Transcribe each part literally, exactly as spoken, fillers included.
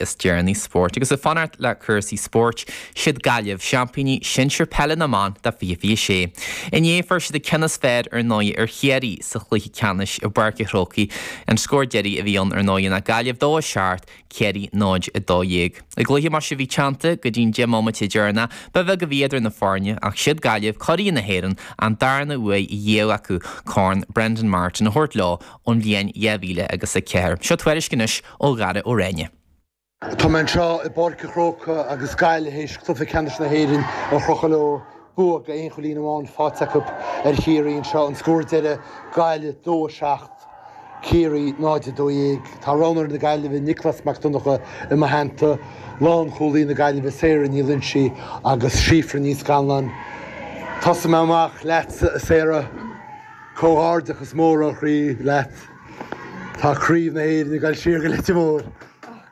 is deireanaí spóirt agus ag fanacht le cúrsaí spóirt siad Gaillimh seaimpíní sinsir peile na mban de fiche fiche sé. Inné fuair siad an ceann is fearr ar ndóigh ar Chiarraí sa chluiche ceannais i bPáirc an Chrócaigh an scór deiridh a bhí ann ar ndóigh ná Gaillimh dó a seacht Ciarraí náid a dó dhéag. I gcluiche mar sin bhí teannta go dtí'n deich mbomaite deireanach ba bheag a bhí idir na foirne ach siad Gaillimh curaidh na hÉireann an darna huair dhéag acu Corn Brendan Martin a thabhairt leo ón bhliain dhá mhíle agus a ceathair. Seo tuairisc anois ó Dhara Ó Réine. Tá mé anseo i bPáirc an Chrócaigh agus Gaillimh théis cluiche ceannais na hÉireann a chrochadh leo bua go aon chúilín amháin faighte acu ar Chiarraí anseo an scór deiridh Gaillimh dó a seacht Ciarraí náid a dó dhéag. Tá roghnóir na Gaillimhe Nioclás Mac Donncha i mo theannta lánchúlaí na Gaillimhe Sarah Ní Loinsigh agus Síofra Ní Scanláin. Tosóidh mé amach leatsa a Sarah comhghairdeachas mór ó chroí leat. Tá craobh na hÉireann ag dul siar go Leitir Móir.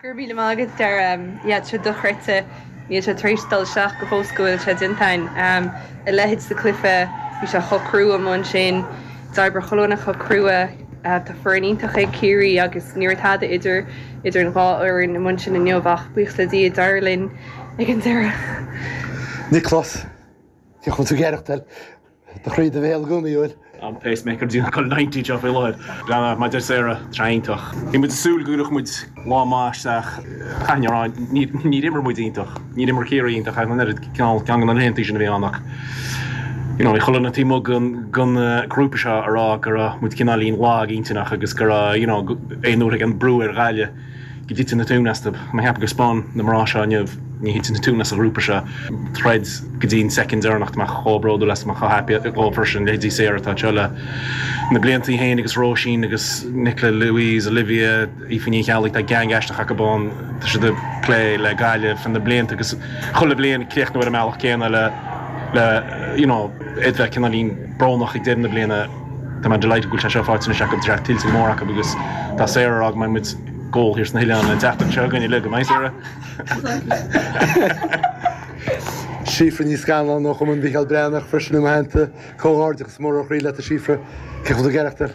Gur mí agad dar sé dochreidte níl sé tar éis dul isteach go fós go bhfuil sé déanta againn a leithéid de chluiche bhí sé chomh crua amuigh ansin d'oibrigh chuile dhuine chomh crua tá foireann iontach ag Ciarraí agus ní raibh tada idir idir an dhá fhoireann amuigh ansin inniu ach buíochas le Dia d'éirigh linn ag an deireadh. Nioclás Cé chun tú gearachtail Do chroí i do bhéal i gcónaí bhfuil. An pacemaker déanamh go ninety seo faoi láthair. Leana mar deir Sarah iontach. Bhí muid ag súil go gcuirfeadh muid lá maith isteach chaithfinn a rá níor imir muid iontach. Níor imir Ciarraí iontach ach an oiread cineál ceann de na laethanta sin a bhí ann ach you know bhí chuile dhuine taobh amuigh den den grúpa seo a rá go raibh muid cineáilín lag intinneach agus go raibh you know aon uair ag an brú ar Ghaillimh go dtiteann na tóin astu. Mé cheapadh gur 'spáin na mná seo inniu ní thiteann na tóin as an ghrúpa seo. Troid go dtí an soicind deireanach tá mé chomh bródúil as tá mé chomh happy dhóibh freisin leithéidí Sarah atá anseo le na blianta í féin agus Róisín agus Nicola Louise, Olivia, Aoife Ní Cheallaigh tá gang aisteach acu ann tá siad ag plé le Gaillimh na blianta agus chuile bhliain críochnú ar an mbealach céanna le le you know iad bheith cineáilín brónach ag deireadh na bliana tá mé delighted go bhfuil sé seo faighte anois acu tá sé tuillte go mór acu agus tá Sarah ag rá go mbeidh muid ag ól thiar sna hoileáin an tseachtain seo againn uilig go mbeidh Sarah. Síofra Ní Scanláin ó Chumann Mhicheál Breathnach freisin i mo theannta comhghairdeachas mór ó chroí leat a Síofra cé chomh tú ag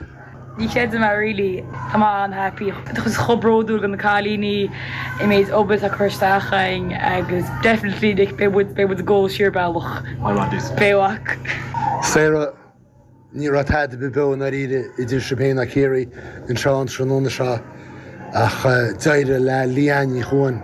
Ní chreidim é really Tá mé an-happy chomh bródúil de na cailíní an méid obair atá curtha isteach againn agus definitely Nick beidh muid beidh muid ag ól siar bealach. Beidh. Sarah Ní raibh tada beo i ndáiríre idir sibh féin ná Ciarraí anseo an tráthnóna seo ach d'éirigh le Leanne Ní Chuan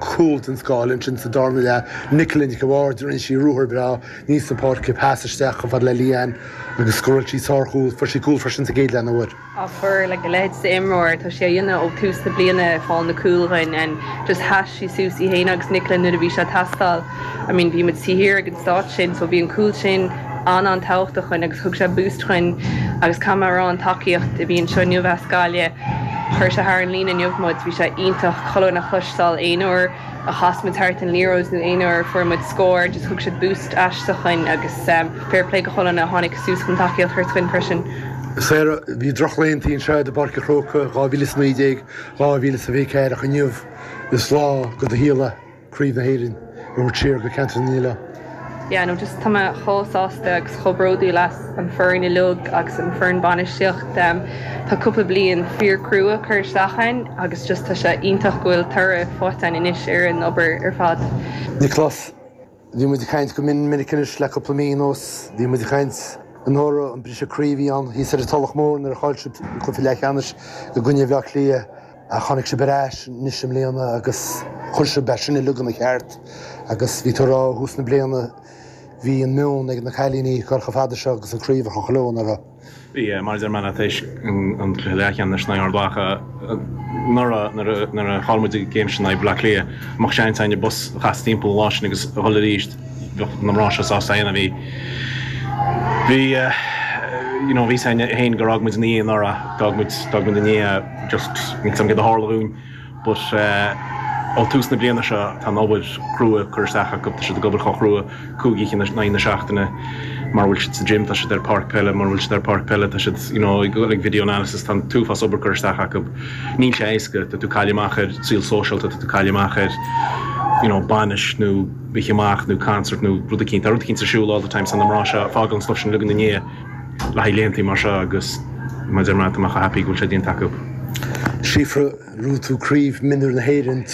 cúl den scoth ansin sa darna leath Nicola Nic an Bhaird rinne sí ruathar breá aníos an pháirc pas isteach chomh fada le Leanne agus scóráil sí sárchúl fuair sí cúl freisin sa gcéad leath an uair. Á fuair like a leithéid d'imreoir tá sé a dhéanamh ó tús na bliana fáil na cúil dhuinn and just sheas sí suas í féin agus Nicola nuair a bhí sé ag teastáil. I mean bhí muid taobh thiar ag an stát sin so bhí an cúl sin an-an-tábhachtach dhuinn agus thug sé boost dhuinn agus caithfidh mé a rá an tacaíocht a bhí anseo inniu as Gaillimh chuir sé thar an líne inniu muid bhí sé iontach chuile dhuine a chloisteáil aon uair a chas muid thart an liathróid nó aon uair a fuair muid scór just thug siad boost aisteach dhuinn agus fair play go chuile dhuine a tháinig suas chun tacaíocht a thabhairt dhuinn freisin. Sarah, bhí drochlaethanta anseo i bPáirc an Chrócaigh dhá mhíle is naoi déag, dhá mhíle is a fiche ceathair ach inniu is lá de do shaol é Craobh na hÉireann a thabhairt siar go ceantar na nOileán. Yeah no just tá mé chomh sásta agus chomh bródúil as an foireann uilig agus an foireann bainistíocht. Tá cúpla bliain fíor crua curtha isteach againn agus just tá sé iontach go bhfuil toradh faighte againn anois ar an obair ar fad. Nioclás, Bhí muid ag caint go mion minic anois le cúpla mí anuas. Bhí muid ag caint anuraidh an briseadh croí a bhí ann thíos ar an Tulach Mhór nuair a chaill sibh an cluiche leathcheannais i gcoinne Bhaile Átha Cliath. Ach tháinig sibh ar ais anois i mbliana agus chuir sibh é sin uilig ina cheart agus bhí tú ag rá ó thús na bliana bhí an meon ag na cailíní ag dul chomh fada seo agus an craobh a chrochadh leo, nach raibh? Bhí, mar a deir mé leat théis an cluiche leathcheannais in aghaidh Ard Mhacha anuraidh nuair a chaill muid an game sin in aghaidh Bhaile Átha Cliath, dá mbeadh seans againn an bus a chasadh timpeall an lá sin agus a dhul arís bheadh na mná seo sásta é a dhéanamh. Bhí, bhí, you know, bhí a fhios againn féin gur fhág muid ina dhiaidh anuraidh, d'fhág muid, d'fhág muid ina dhiaidh. Just níl 's agam céard a tharla dhúinn but ó tús na bliana seo tá an obair chrua curtha isteach acu, tá siad ag obair chomh chrua cúig oíche in aghaidh na seachtaine mura bhfuil siad sa gym tá siad ar páirc peile, mura bhfuil siad ar páirc peile tá siad you know ag dul ag video analysis, tá an t-uafás obair curtha isteach acu. Níl sé éasca, tá tú ag cailleadh amach ar saol sóisialta, tá tú ag cailleadh amach ar you know bainis nó oíche amach nó concert nó rud eicínt, tá rud eicínt ar siúl all the time so na mná seo ag fágáil an stuff sin uilig ina ndiaidh. le haghaidh laethanta mar seo agus mar a deir mé tá mé chomh happy go bhfuil sé déanta acu. Síofra, bhuaigh tú craobh mionúir na hÉireann trí